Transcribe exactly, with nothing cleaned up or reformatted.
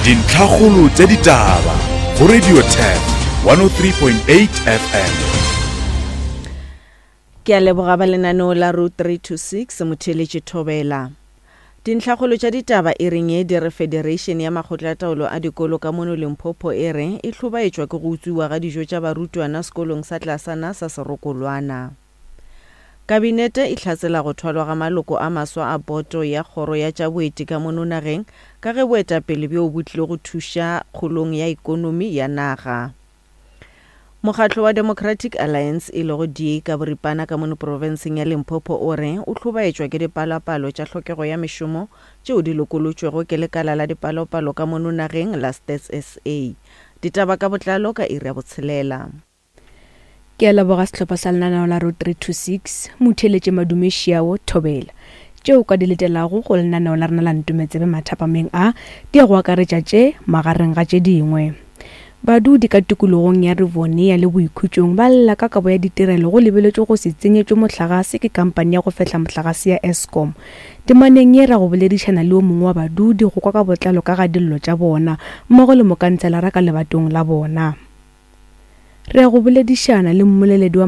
Dintlhakgolo tša ditaba go Radio Turf one oh three point eight F M. Ke a leboga ba lenaneo la Route three two six, motheeletši Thobela. Dintlhakgolo tša ditaba e reng ye di re Federation ya Makgotlataolo a Dikolo ka mono Limpopo e re e hlobaetšwa ke go utswiwa ga dijo tša barutwana sekolong sa tlasana sa Serokolwana. Kabinete e hlatsela go thwalwa ga maloko a maswa a boto ya kgoro ya tša boeti ka mono nageng ka ge boetapele bjo bo tlile go thuša kgolong ya ekonomi ya naga. Mokgatlo wa Democratic Alliance e lego D A ka boripana ka mono profenseng ya Limpopo o re o hlobaetšwa ke dipalopalo tša hlokego ya mešomo tšeo di lokolotšwego ke lekala la dipalopalo ka mono nageng la Stats S A. Ditaba ka botlalo ka iri ya botshelela. Ke a leboga sehlopha sa lenaneo la Road three two six, motheeletše Madume Šiao Thobela. Tšeo ka di letelago go lenaneo la rena la Ntometsebe mathapameng a di ya go akaretša tše magareng ga tše dingwe. Badudi ka tikologong ya Rivonia le Boikhutšong ba lla ka kabo ya ditirelo go lebeletšwe go se tsenyetšwe mohlagase ke kampani ya go fehla mohlagase ya Eskom. Temaneng ye ra go boledišana le o mongwe wa badudi go kwa ka botlalo ka ga dillo tša bona mmogo le mokanselara ka lebatong la bona. Re ya go boledišana le mmoleledi wa